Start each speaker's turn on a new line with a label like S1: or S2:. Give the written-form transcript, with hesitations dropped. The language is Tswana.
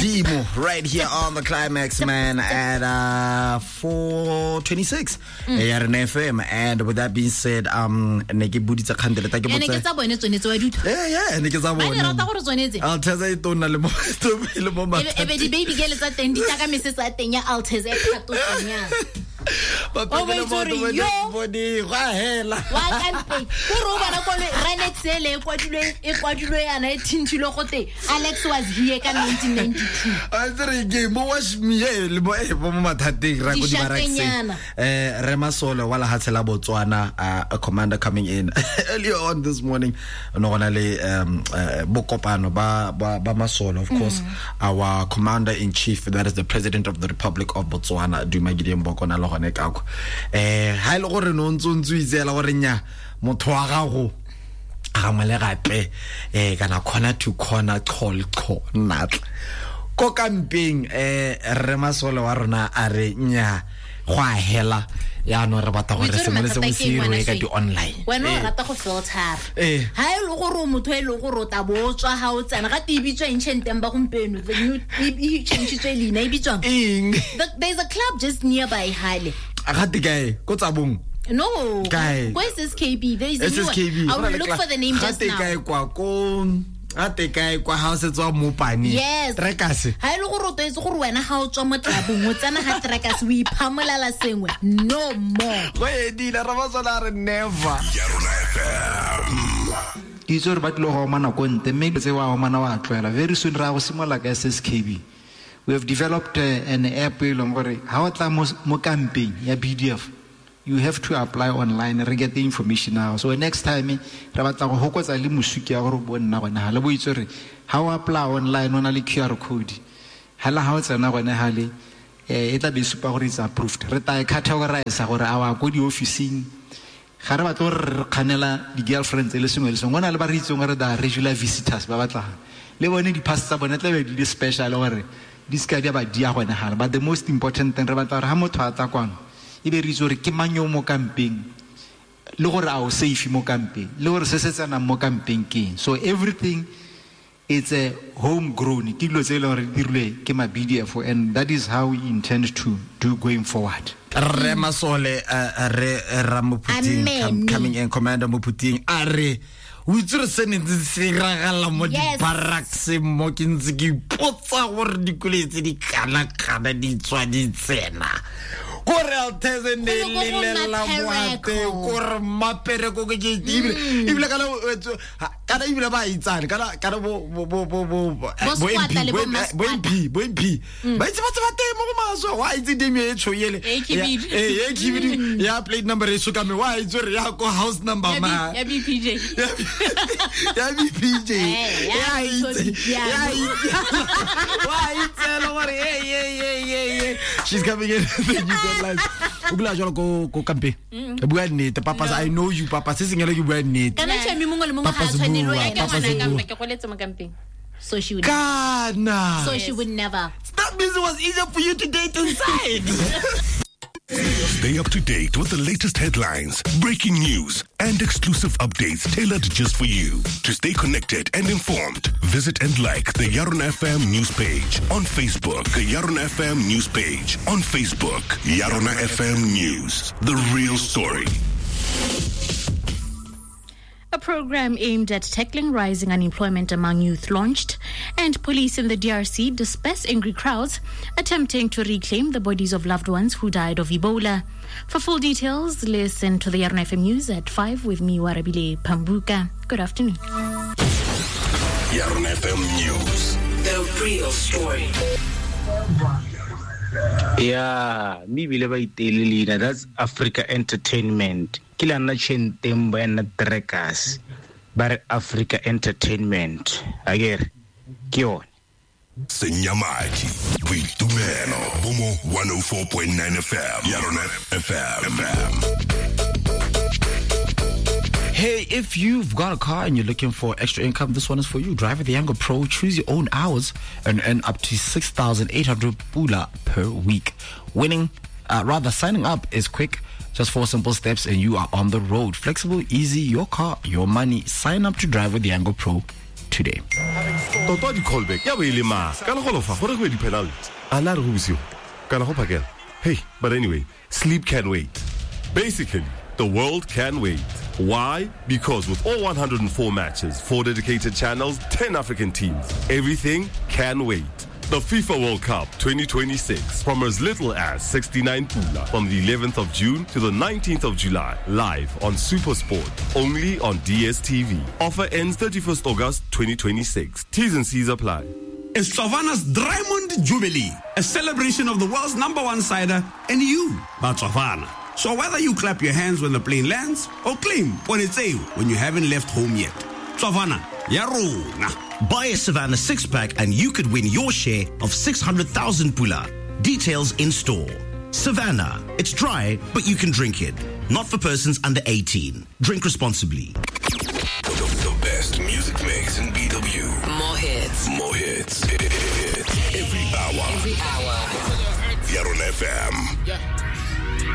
S1: Modimo right here on the Climax Man at 4:26 ya Rena FM. And with that being said, ne ke buditse kgantele ta ke
S2: Ene ke
S1: botse.
S2: tsa bone tsone tse wa di utlwa.
S1: Yeah, ne ke tsa
S2: Ba
S1: bone.
S2: di rata gore tsone tse.
S1: Alteza e tona le mo le mo
S2: E be di baby girl tsa teng di tla ka mesese ya teng ya Altez e kgatotseng yana. O bo itse gore yo
S1: bone go a hela.
S2: Wa kampeng kore o bona koloi Renex ele e kwadilwe e kwadilwe yana e thinthilwe gote Alex was here ka 1992.
S1: A tse re ke mo wash me le mo mo mathateng ra ko di barrackseng.
S2: Dišakenyana.
S1: Re Masole wa lehatshe la Botswana, a commander coming in earlier on this morning, no gona le bokopano ba Masole, of course our commander in chief, that is the president of the Republic of Botswana, Duma Gideon Boko, na le gone ka kwa. Ha ile gore no ntse o itseela gore nya motho wa gago gangwe le gape kana corner to corner call natla ko kampeng, re Masole wa rona a re nya go a hela yaanong re batla
S2: O
S1: gore
S2: itse gore
S1: sengwe le sengwe
S2: mathata
S1: se
S2: ke eng,
S1: irwe
S2: ngwana
S1: ka
S2: Shane?
S1: di-online.
S2: Wena o rata go filtera.
S1: Eh.
S2: Ha e le gore o motho e leng gore o tla bo o tswa ha o tsena ga te e bitswa eng tšhenteng ba gompieno, the new e changitswe leina e bitswang?
S1: Eng?
S2: There's a club just nearby hale.
S1: Ga te kae ko Tsabong?
S2: No.
S1: Kae?
S2: Ko SSKB. There is a new one.
S1: SSKB.
S2: I will look for the name
S1: Ga
S2: just
S1: te
S2: now.
S1: kae kwa ko ga te kae kwa ha o setse wa mopane?
S2: Yes.
S1: Trekase.
S2: Ha e le gore o tlwaetse gore wena ga o tswa mo tlabong o tsena ga Trekase o iphamolala sengwe, no more.
S1: Go edile re Masole a re never.
S3: Yarona FM.
S4: Ke itse gore ba tlile go omana ko ntle, mme dilo tse wa omana wa tlwaela. Very soon re ya go simolola ka SSKB. We have developed an app e leng gore ha o tla mo kampeng ya BDF, you have to apply online, re get the information now. So next time re batla go hokotsa le mosuki ya gore bo nna gone ha le bo itse gore ha o apply online o na le QR code, hela ha o tsena gone hale, e tla be e supa gore it's approved. Re tla e categorize gore a wa ko di-officing, ga re batle gore re kganela di-girlfriends le sengwe le sengwe. Go na le ba re itseng gore they are regular visitors ba batlang le bone di-pass tsa bone tla be di le special gore di seka di a ba dia gone gale. But the most important thing, re batla gore ha motho a tla kwano e be re itse gore ke mang yo mo kampeng, le gore a o safe mo kampeng, le gore se se tsenang mo kampeng ke eng. So everything it's a homegrown, ke dilo tse e leng gore di dirilwe ke ma BDF, and that is how we intend to do going forward.
S1: Re Masole, re Ramophuting
S2: Amen.
S1: coming in, Commander Mophuting a re o itse re se ne ntse se iragala mo
S2: Yes.
S1: di-barracks mo, ke ntse ke ipotsa gore dikoloi tse di kana-kana di tswa di tsena kore Altez ne
S2: Go ne go go
S1: lelela moate
S2: Mapereko.
S1: kore Mapereko ke ke ebile kana kana ebile ba itsane kana kana bo bo bo bo bo
S2: Bo
S1: bo
S2: squatter
S1: MP
S2: le
S1: bo
S2: bo
S1: bo MP bo MP ba itse batho ba teng mo go maswe wa itse demi e tsho ele
S5: E khibidu.
S1: e khibidu ya plate number e sokame wa itse re ya ko house number
S5: Ya
S1: ma
S5: ya BPJ.
S1: Ya BPJ.
S2: Eh, ya
S1: Ya itse
S2: BPJ.
S1: ya itse wa itse le gore hey she's coming in the new headlines o bula jalo ko kampeng. Bua nnete papa, I know you papa, se sengele ke bua nnete.
S2: Kana tšhami mongwe le mongwe ga
S1: Papa
S2: a tshwanelo
S1: Zebua,
S2: ya
S5: Ke
S2: ke
S1: Papa
S5: ngwana
S1: Zebua.
S5: kampa, ke goletse mo kampeng.
S2: So she would
S1: Kana.
S2: So she would never.
S1: That means it was easier for you to date inside.
S3: Stay up to date with the latest headlines, breaking news, and exclusive updates tailored just for you. To stay connected and informed, visit and like the Yarona FM news page on Facebook. The Yarona FM news page on Facebook. Yarona FM News, the real story.
S6: A program aimed at tackling rising unemployment among youth launched, and police in the DRC disperse angry crowds attempting to reclaim the bodies of loved ones who died of Ebola. For full details, listen to the Yarona FM News at 5 with me, Warabile Pambuka. Good afternoon.
S3: Yarona FM News.
S7: The real story.
S8: Yeah, mme ebile ba iteile leina, that's Africa Entertainment. Ke la nna Chentembo ya nna Trackers, ba re Africa Entertainment, akere ke yone.
S3: Senyamadi, Boitumelo, Bomo 104.9 FM, Yarona FM.
S1: Hey, if you've got a car and you're looking for extra income, this one is for you. Drive with the Yango Pro, choose your own hours and earn up to 6,800 pula per week. Signing up is quick. Just 4 simple steps and you are on the road. Flexible, easy, your car, your money. Sign up to drive with the Yango Pro
S5: today.
S3: Tota di-callback ya bo e le mang kana go lofa gore go be di-penalty a na re go bosigo kana go phakela. Hey, but anyway, sleep can wait. Basically, the world can wait. Why? Because with all 104 matches, 4 dedicated channels, 10 African teams, everything can wait. The FIFA World Cup 2026 from as little as 69 pula from the 11th of June to the 19th of July, live on SuperSport, only on DSTV. Offer ends 31st August 2026. T's and C's apply.
S9: It's Savannah's Diamond Jubilee, a celebration of the world's number one cider and you, Batswana. So whether you clap your hands when the plane lands or claim ponetseo when you haven't left home yet, Savannah, ya rona.
S10: Buy a Savannah six-pack and you could win your share of 600,000 pula. Details in store. Savannah, it's dry, but you can drink it. Not for persons under 18. Drink responsibly.
S3: The best music mix in BW.
S7: More hits.
S3: More hits. Hits. Every hour.
S7: Every hour.
S3: Yarona FM.
S11: Yeah.